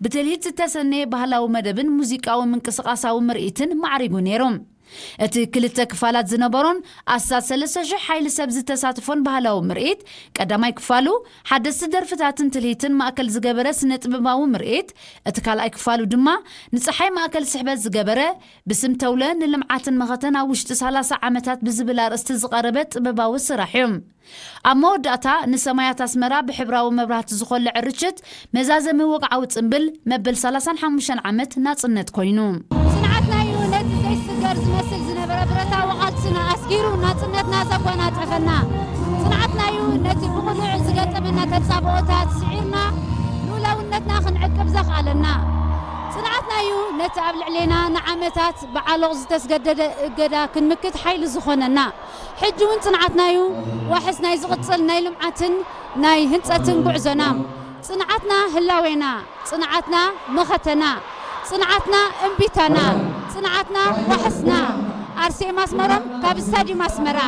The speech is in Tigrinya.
ብትልሂት ዝተሰነየ ባህላዊ መደብን ሙዚቃዊ ምንቅስቓሳዊ ምርኢትን ማዕሪጉ ነይሩ። እቲ ክልተ ክፋላት ዝነበሮን ኣስታት ሰለስተ ሽሕ ሓይሊ ሰብ ዝተሳትፎን ባህላዊ ምርኢት፣ ቀዳማይ ክፋሉ ሓደስቲ ደርፍታትን ትልሂትን ማእከል ዝገበረ ስነ ጥበባዊ ምርኢት፣ እቲ ካልኣይ ክፋሉ ድማ ንጸሓይ ማእከል ስሕበት ዝገበረ፣ ብስም ተውለ ንልምዓትን መኸተን ኣብ ውሽጢ ሰላሳ ዓመታት ብዝብል ኣርእስቲ ዝቐረበ ጥበባዊ ስራሕ እዩ። ኣብ መወዳእታ ንሰማያት ኣስመራ ብሕብራዊ መብራህቲ ዝኾልዐ ርችት፣ መዛዘሚ ወግዓዊ ጽምብል መበል ሰላሳን ሓሙሽተን ዓመት ናጽነት ኮይኑ። ጽንዓትና እዩ ነቲ ዘይስገር ዝመስል ዝነበረ ብረታዊ ቃልስና ኣስጊሩ ናጽነትና ዘጓናጸፈና። ጽንዓትና እዩ ነቲ ብቕኑዕ ዝገጠመና ተጻብኦታት ስዒርና ልኡላውነትና ክንዕቅብ ዘኽኣለና። ጽንዓትና እዩ ነቲ ኣብ ልዕሌና ንዓመታት ብዓሎቕ ዝተስገደደ እገዳ ክንምክት ሓይሊ ዝኾነና። ሕጂ እውን ጽንዓትና እዩ ዋሕስ ናይ ዝቕጽል ናይ ልምዓትን ናይ ህንጸትን ጉዕዞና። ጽንዓትና ህላዌና፣ ጽንዓትና መኸተና፣ ጽንዓትና እምቢታና፣ ጽንዓትና ዋሕስና። ኣርሴማ ኣስመሮም ካብ ስታዲየም ኣስመራ።